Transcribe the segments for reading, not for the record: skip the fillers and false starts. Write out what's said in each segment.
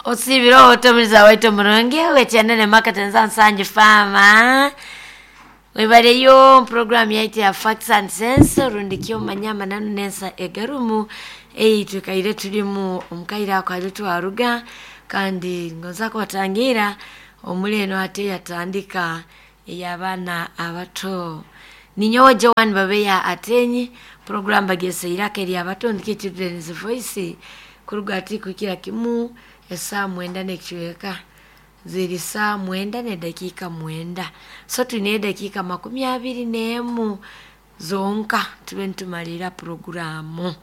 Osibire otomuliza waitu omurungi wekyenda makatenza nsangi fama webaleyo program yaitu ya Facts and Sense rundi kyomanya amananu nensa egarumu eyitukaire tulimu omukaire ako ali twaruga kandi ngonza kubatangira omuli eno ate yatandika ey'abaana abato. Ninyowe Joan Babeya Atenyi program bageseirako eri abato ndiki Children's Voice kuruga ati kuhikira kimu esaa 9 n'ekicweka ziri saa 9 n'edakiika 9, so twine edakiika 21 zonka tube nitumalira puroguramu.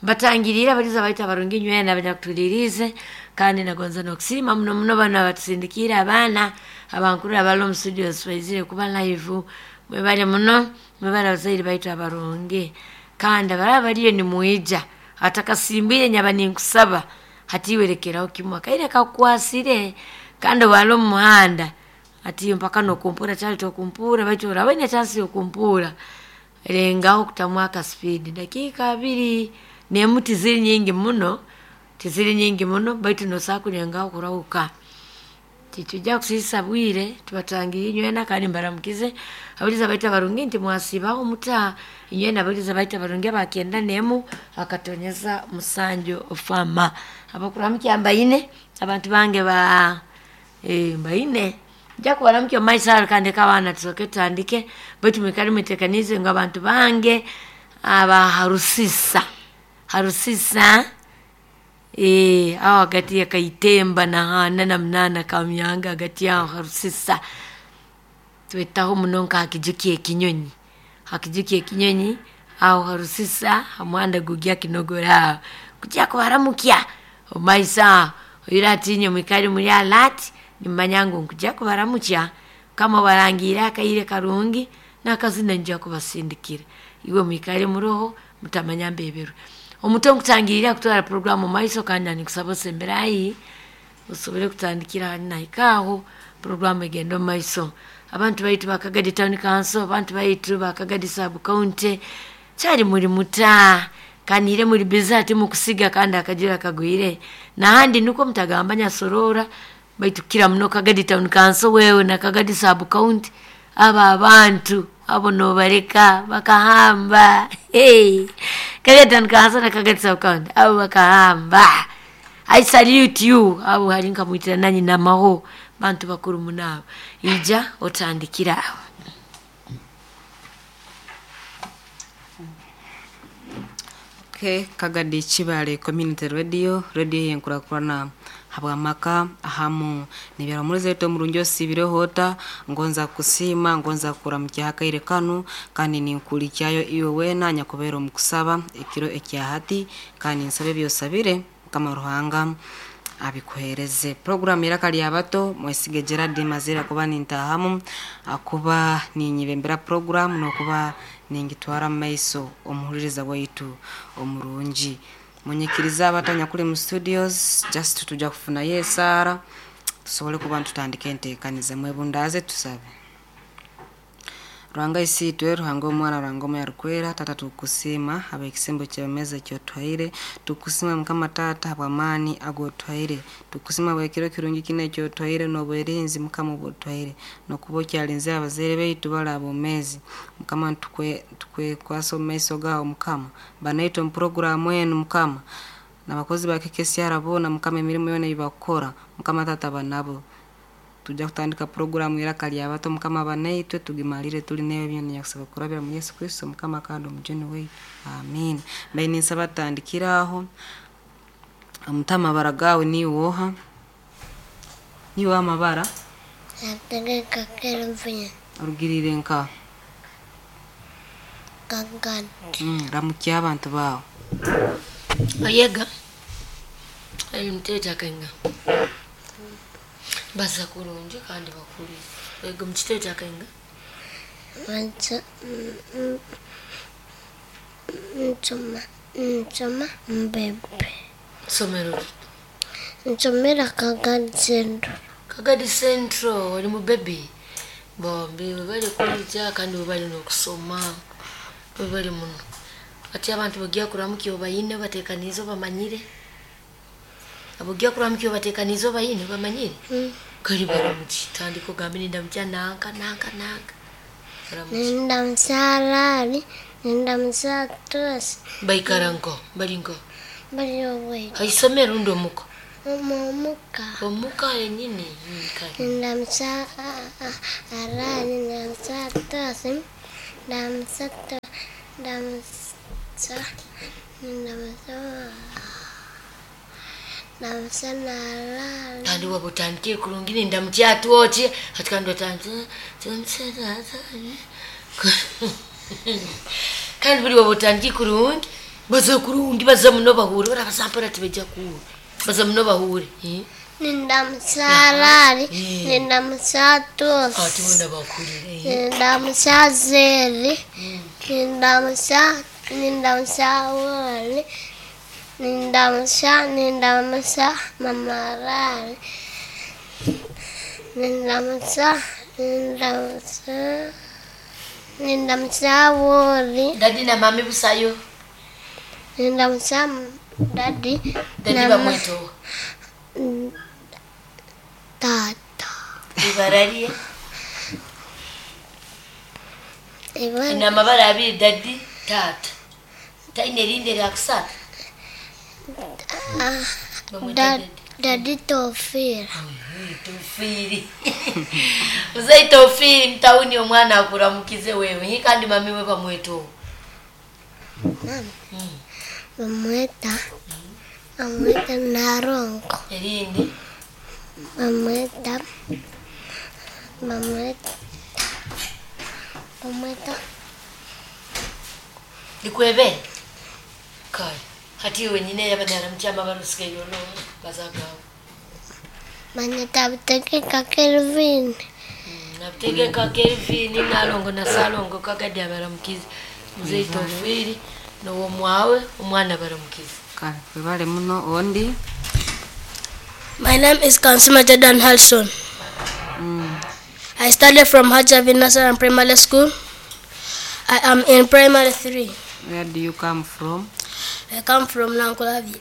Mbatangirire abaliza baitu abarungi nywena abanyakutulirize kandi nagonza n'okusiima muno muno bano abatusindikiire abaana abankuru abali omu studios baizire kuba live. Mwebale muno, mwebale abazaire baitu abarungi kandi abaraba bariyo nimwija atakasimbwire nyaba ninkusaba hatiwerekeraho kimwe akaire kakukwasire kandi wali omu muhanda ati mpaka nokumpura kyali tokumpura baitu oraba oine chance yokumpura rengaho kutamu akaspeed dakiika abiri nemu tiziri nyingi muno, tiziri nyingi muno baitu nosobola kulengaho kurahuka. Titujja kusiisa bwire tubatangire inywena kandi mbaramukize abaliza baitu abarungi nti mwasiibaho muta inywena abaliza baitu abarungi abakenda nemu akatonyeza musanju fama abakuramukya mbaine abantu bange ba mbaine nja kubaramukya omu maiso aho kandi abaana tusooke tutandike baitu mwikale mwetekaniize ngu abantu bange aba Harusisa Harusisa aho hagati ya Kaitemba na Haana na Munaana Kamyanga hagati aho Harusisa twetaho muno nka ha kiju ky'ekinyonyi, ha kiju ky'ekinyonyi aho Harusisa ha muhanda gugya Kinogora aho kujya kubaramukya omu maiso aho oihireho hati inywe mwikale muri alert nimumanya ngu nkujya kubaramukya Mukama obarangiire akaire karungi n'akazina nija kubasindikira iwe mwikale muroho mutamanya mbeberwe. Omuto nkutangirire kutwara puroguramu omu maiso kandi ninkusaba osembere haihi osobole kutandikira hali nahika aho puroguramu egenda omu maiso. Abantu baitu ba Kagadi Town Council, abantu baitu ba Kagadi Sub County kyali muri muta kanire muri busy ati mukusiga kandi akajira kagwire nahandi nukwo mutagamba nyasorora baitu kukira muno Kagadi Town Council wewe na Kagadi Sub County aba abantu abo nobareka bakahamba. Hey! Kagadi Town Council na Kagadi Sub County abo bakahamba. I salute you abo hali nkamwitira nanyi namaho bantu bakuru munabo ija otandikira aho. Okay, Kagadi Kibale Community Radio, radio yenkurakurana habwamaka ahamu nibyaramuliza eto omurungi osiibireho ota ngonza kusiima ngonza kuramukya akaire kanu kandi ninkulikyayo iwe weena nyakubeera omu kusaba ekiro ekya hati kandi nsaba ebyosabire Mukama Ruhanga abikuhereze. Program iraka lya bato mwesige Gerard Mazira kuba nintahamu akuba ninyibembera program nokuba ningitwara mu maiso omuhuliriza waitu omurungi. Munyikiriza abatanyakuli mu studios just tujja kufunayo esaara tusobole kuba ntutandika enteekaniza mwebundaaze tusabe. Ruhanga isiitwe Ruhanga omwana Ruhanga omwe arukwera tata tukusiima habw'ekisembo ky'emmeeza ekyotuhaire tukusiima Mukama taata habw'amaani ag'otuhaire tukusiima habw'ekiro kirungi kinu ekyotuhaire n'obwerinzi Mukama obw'otuhaire n'okuba okyalinzire abazaire baitu bali aboomeezi Mukama tukwekwasa omu maiso gaawe Mukama banaitwe omu puroguraamu enu Mukama n'abakozi ba KKCR boona Mukama emirimo yoona ei bakukora Mukama taata banabo tujja kutandika puroguraamu iraka lya bato Mukama banaitwe tugimalire tuli newe byona nyakusaba kurabira mu Yesu Kristo Mukama kandi omujuni waitu amiina. Mbaire ninsaba tutandikire aho omuta amabara gaawe niiwe oha? Niiwe amabara? Nategeka Kelvin. Orugiriire nka? Kagadi. Ramukya abantu baawe. Oyega ali muteeta akainga baza kurungi kandi bakuru ego mukiteeta akainga Nsoma mbebe. Somero Nsomera Kagadi Central. Kagadi Central oli mu baby bombi webali kulya kandi webali n'okusoma webali muno ati abantu bagiya kuramukya obayine batekaniize obamanyire. Abogya kuramukya obateekaniize obayine bamanyire? Kali baramuki tandika ogambe nindamukya nanka nanka nanka. Baramuki. Nindamusa Arali, nindamusa Tosi. Baikara nko, bali nko. Bali obwaitu. Haisomero rundi omuka? Omuka. Omuka yenyini. Kale. Nindamusa Arali, nindamusa Tosi, ndamusa ndamusa ndamusa ndamusa Narali. Kandi waba otandikire kurungi nindamukya atwoki hati kandi otandike kandi buri waba otandikire kurungi baza kurungi baza muno bahure barabaza mpora tibajya kuhure baza muno bahure. Nindamusa Arali, nindamusa Tosi. Ati bona bakurire. Nindamusa Zeri, nindamusa nindamusa Woli, nindamusa nindamusa Mama Arali, nindamusa nindamusa nindamusa Woli. Dadi na mami busayo. Nindamusa dadi. Dadi bamwetowa. Tata. Ibarariye. Ina amabara abiri dadi tata. Taine erindi erya kusatu. Dadi Tofira. Tofiri. Uzai Tofiri mtauni omwana akuramukize wewe. Kandi mami we bamwetowa. Mami. Bamweta. Bamweta Narongo. Erindi. Bamweta. Bamweta. Bamweta. Likwebe. Kale. Hati wenyine yabadara mchama barusike yolo bazagawo. Manyeta butegeka Kelvin. Nabutegeka Kelvin Nalongo na Salongo kagadi abaramukize. Mzee Tofiri nowo mwawe omwana baramukize. Kale webale muno ondi. My name is Kansima Jordan Halson. I started from Hajavi National Primary School. I am in primary 3. Where do you come from? I come from Nankulavi.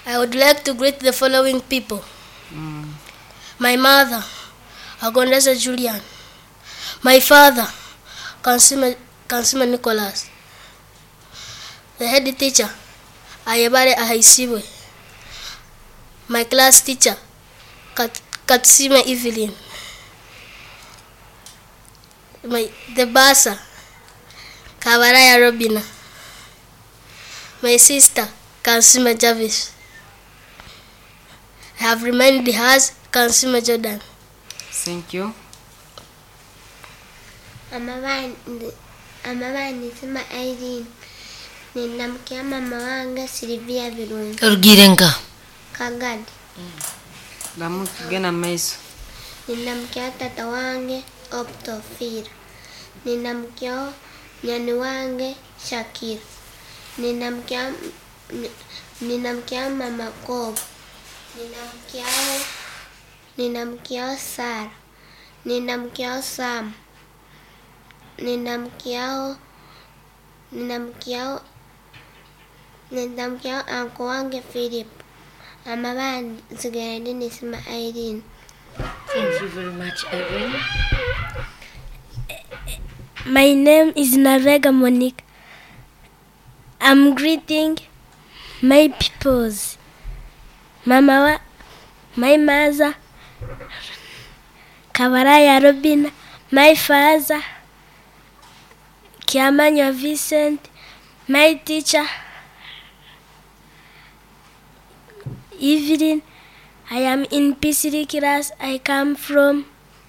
I would like to greet the following people. My mother, Agondeza Julian. My father, Kansima Nicholas. The head teacher, Ayebare Ahaisiwe. My class teacher, Katsima Evelyn. The bursar, Kabaraya Robina. My sister, Kansima Jarvis. I have reminded her, Kansima Jordan. Thank you. Amabani Irene. Ninamkia mama wange Silvia Birungi. Orugirenga. Kagadi. Ndamukigena maiso. Ninamkia tata wange Optofira. Ninamkia nyani wange Shakira. Ninamkia mama Kobo. Ninamkia Sara. Ninamkia Sam. Ninamkia anko wange Philip. Amabandi nsigaye nisima Irene. Thank you very much, Irene. My name is Navega Monique. I'm greeting my peoples. Mama, my mother, Kabaraya Robina, my father, Kiamanya Vincent, my teacher, Evelyn. I am in P3 class. I come from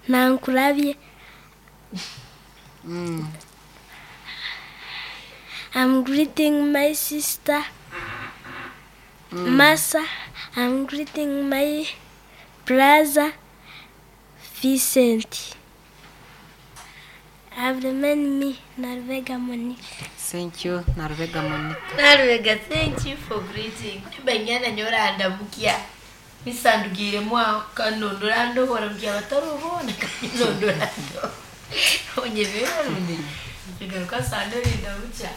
Nankulavye. I'm greeting my sister, Masa. I'm greeting my brother, Vincent. I've reminded me, Narvega Monique. Thank you, Narvega Monique. Narvega, thank you for greeting. Banyana nyora andamukia. Nisandugire mwa kanondorando waramukia batarubona kanondorando. Onye berundi. Bigaruka sandori ndamucha.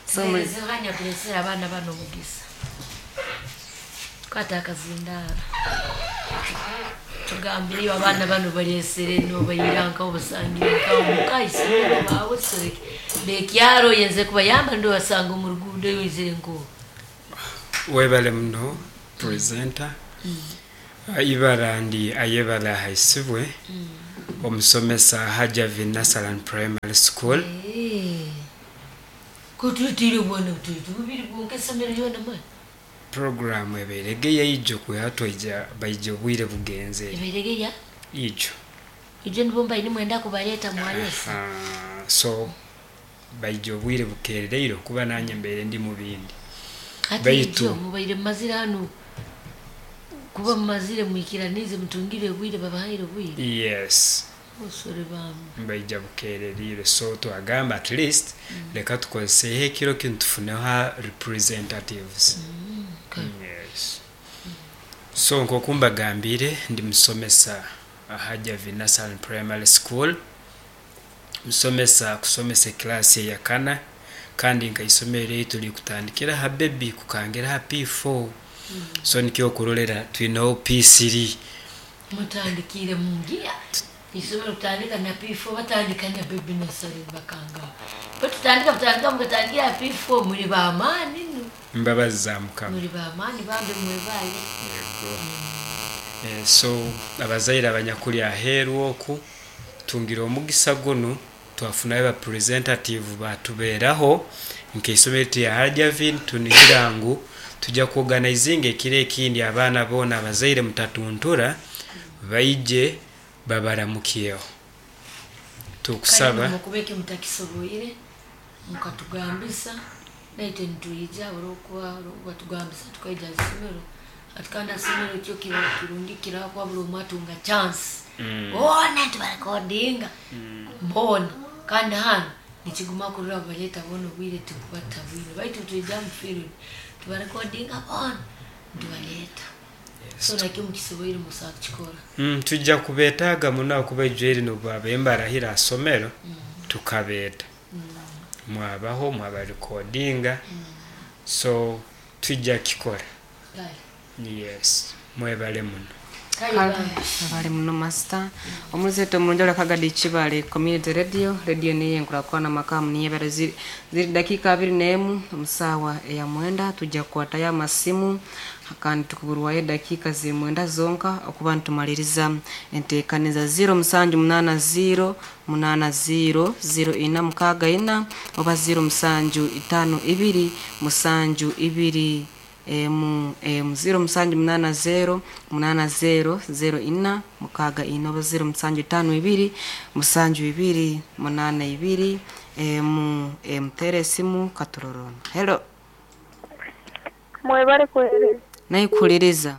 So muzihanya kulesera abana bano mugisa. Kwata akazindaro. Tugambireyo abaana bano balesere nobayira nkaho basangire nkaho mukaisomero bawe soreke bekyaro yenze kubayamba ndo basanga omu ruguudo yoizire nko. Webale muno presenter. Ibara ndi Ayebala Haisibwe, omusomesa Hajavi Nasaran Primary School. Kututire bwana ututu bubiri bwonka esomero lyona mani. Program ebeerege yaijo kwiha twaija baija obwire bugenze. Ebeerege ya ijo. Ijo nibo mbaine mwenda kubaleta mwalesa. So baija obwire bukerereire kuba nanye mbeere ndi mu bindi. Baitu mubaire mazira hano kuba mumazire mwikiranize mutungire obwire babahaire obwire. Yes. Osore bamu. Baija bukerereire so twagamba at least leka tukozeseho ekiro kinu tufuneho representatives. Okay. Yes. So nk'oku mbagambire ndi musomesa Hajavi Nasaran Primary School. Musomesa kusomesa eklaasi eyakana kandi nkaisomero eritu likutandikira ha baby kukangira ha P4. So nikyo okurolera twineho P3. Mutandikire mungia. Isomero kutandika na P4 batandika na baby nursery bakanga. Batutandika mutandika mukatandikira P4 muri bamaani no. Mbabazi za Mukama. Muri bamaani bambe mwebale. Yego. So abazaire abanyakuli aheeru oku tungira omugisa guno twafunayo ba representative batubeeraho nk'eisomero lya Hajavin tunihira ngu tujja kuorganizinga ekiro ekindi abaana boona abazaire mutatuntura baije babaramukyeho. Tukusaba mukubeke mutakisoboire mukatugambisa naite nituija olwokuba batugambisa tukaija isomero atukanda somero kyo kiba kirungi kirakwa buli omwe atunga chance. Bona tubarekodinga. Mbona kandi hano nikiguma kurura baleta bona obwire tukubata bwire baitu tuija mu field tubarekodinga bona tubaleta. So nakyo mukisoboire musa kukikora. Tujja kubeetaaga muno akuba ijweri nobwabemba arahira asomero tukabeeta. Mwabaho mwabarekodinga. So tujja kikora. Yes, mwebale muno. Abali muno master. Omuzeto mulungi kagadi Kibale Community Radio, radio niye nkurakwana makamu niye bara ziri dakika 21 omusawa eya mwenda tujja kukwata amasimu kandi tukuburwaye dakika zimwenda zonka okuba ntumaliriza enteekaniza 0780 80 0464 oba 0752 72 emu 0780 80 04 64 oba 0752 72 82 emu tere simu katurorona. Hello. Mwebale kuhereza. Naikuhuliriza.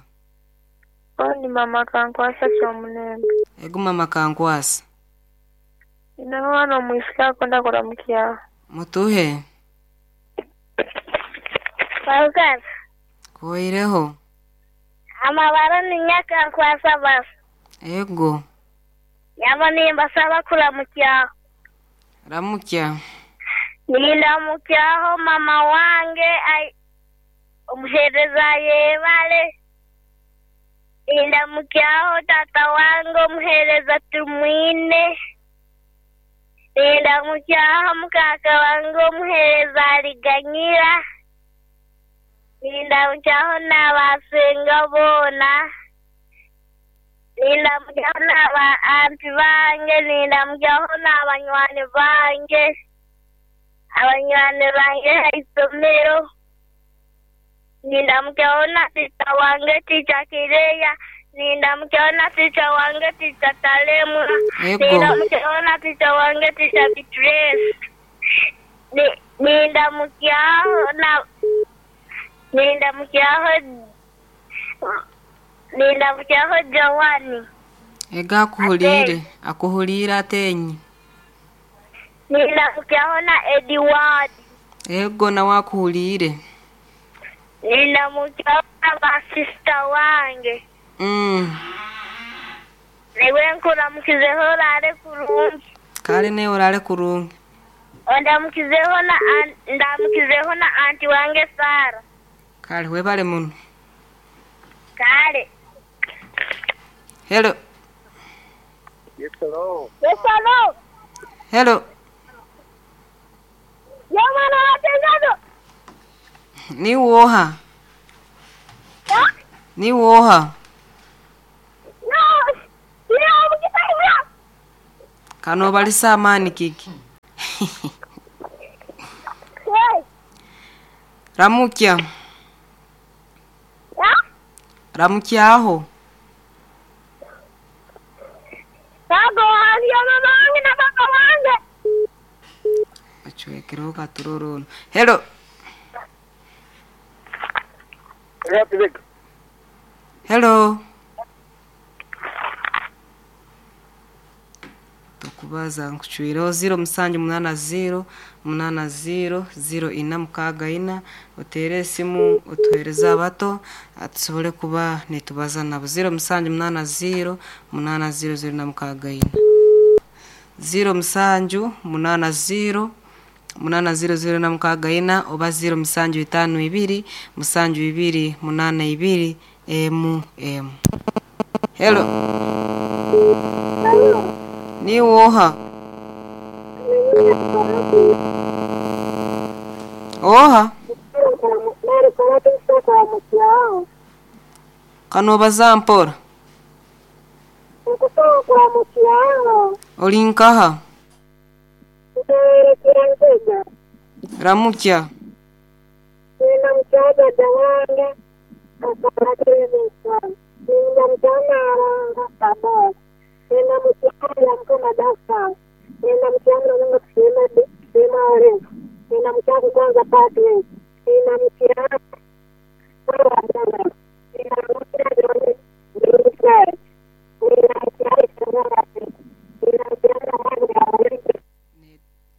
Oni mama kankwasa kyomunembe. Ego mama kankwasa. Ina mwana omwisika akonda kuramukya. Mutuhe. Balkan. Koireho. Amabara ni nyaka nkwasa basi. Ego. Yaba nimbasaba kuramukya. Ramukya. Ninamukyaho mama wange omuhereza yebale. Ninamukyaho tata wange omuhereza Tumwine. Ninamukyaho mukaka wange omuhereza Aliganyira. Ninamukyaho n'abasenga boona. Ninamukyaho n'aba anti bange. Ninamukyaho n'abanywani bange. Abanywani bange haisomero. Ninamukyaho na tita wange Ticha Kireya. Ninamukyaho na tita wange Ticha Talemwa. Ninamukyaho na tita wange Ticha Beatrice. Ninamukyaho Joani. Ega akuhulire, akuhulire atenyi. Ninamukyaho na Edward. Ego na wakuhulire. Ninamukyaho na basista wange. Newe nkuramukizeho orare kurungi. Kale ne orare kurungi. Ndamukizeho na anti wange Sara. Kale webale muno. Kale. Hello. Yes, hello. Hello. Yo mwana watengazo. Ni woha? Ni woha? No. Yo mukitaimya. Kano balisa amani kiki. Hey. Ramukya. Ya? Ramukya aho. Bago wange mama wange na baba wange. Achwekereho katurorono. Hello. Hello. Tukubaza nkucwireho 0780 80 0464 otere esimu otuhereze abato tusobole kuba nitubaza nabo 0780 80 0464 0780 80064 oba 0752 72 82 emu emu. Hello. Ni woha? Oha? Kano baza mpora. Oli nkaha? Ramukya.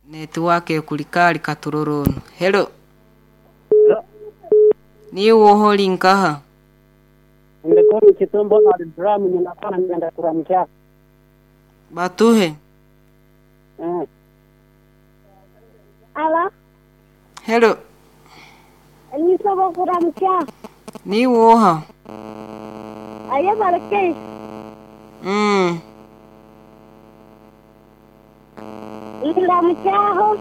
Netiwake kulikali katurorono. Hello. Ni woho linkaha? Ndekoni kitumbo na dramu ninafana nenda kuramkia. Batuhe. Ala. Hello. Nisaba kuramkia. Ni woha? Aye barake. Ila mchaho.